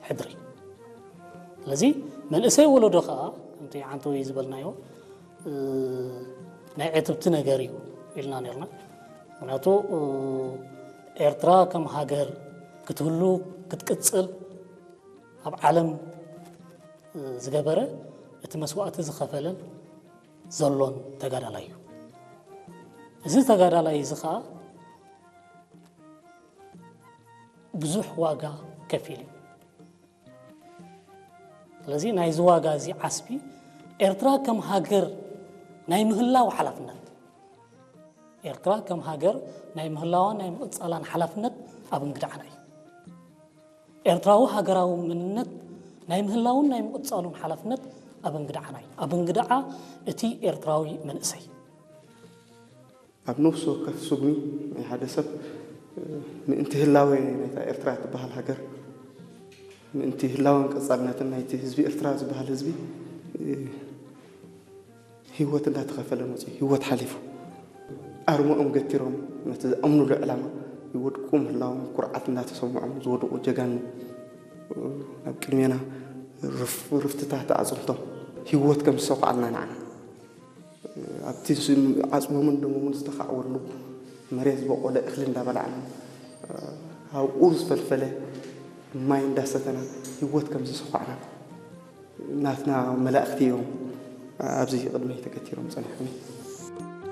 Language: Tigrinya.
ሕድሪ። ስለዚ መንእሰይ ወለዶ ከዓ ከምቲ ዓንተወይ ዝበልናዮ ናይ ዕትብቲ ነገር እዩ ኢልና ነርና። ምክንያቱ ኤርትራ ከም ሃገር ክትህሉ ክትቅፅል ኣብ ዓለም ዝገበረ እቲ መስዋእቲ ዝኸፈለን ዘሎን ተጋዳላይ እዩ። እዚ ተጋዳላይ እዚ ከዓ ብዙሕ ዋጋ ከፊሉ እዩ። ስለዚ ናይዚ ዋጋ እዚ ዓስቢ ኤርትራ ከም ሃገር ናይ ምህላው ሓላፍነት፣ ኤርትራ ከም ሃገር ናይ ምህላዋን ናይ ምቕጻላን ሓላፍነት ኣብ እንግድዓና እዩ። ኤርትራዊ ሃገራዊ መንነት ናይ ምህላውን ናይ ምቕጻሉን ሓላፍነት ኣብ እንግድዓና እዩ። ኣብ እንግድዓ እቲ ኤርትራዊ መንእሰይ ኣብ ነፍሲ ወከፍ ስጉሚ ናይ ሓደ ሰብ ምእንቲ ህላወ ናይታ ኤርትራ ትበሃል ሃገር፣ ምእንቲ ህላወን ቀጻልነትን ናይቲ ህዝቢ ኤርትራ ዝበሃል ህዝቢ ህይወት እንዳተኸፈለ መፅዩ፣ ህይወት ሓሊፉ። ኣርሞኦም ገቲሮም ነቲ ዝኣምኑሉ ዕላማ ይወድቁ ምህላዎም ኩርዓት እንዳተሰምዖም ዝወደቑ ጀጋኑ ኣብ ቅድሜና ርፍትታት ኣዕፅምቶም ህይወት ከም ዝሰኹዓልና ንዓና ኣብቲ ዓፅሞምን ደሞምን ዝተኻዕወሉ መሬት ዝበቆለ እኽሊ እንዳበላዕና ኣብኡ ዝፈልፈለ ማይ እንዳሰተና ህይወት ከም ዝሰኳዕና ናትና መላእኽቲ እዮም ኣብዚ ቅድመይ ተገቲሮም ፀኒሖም።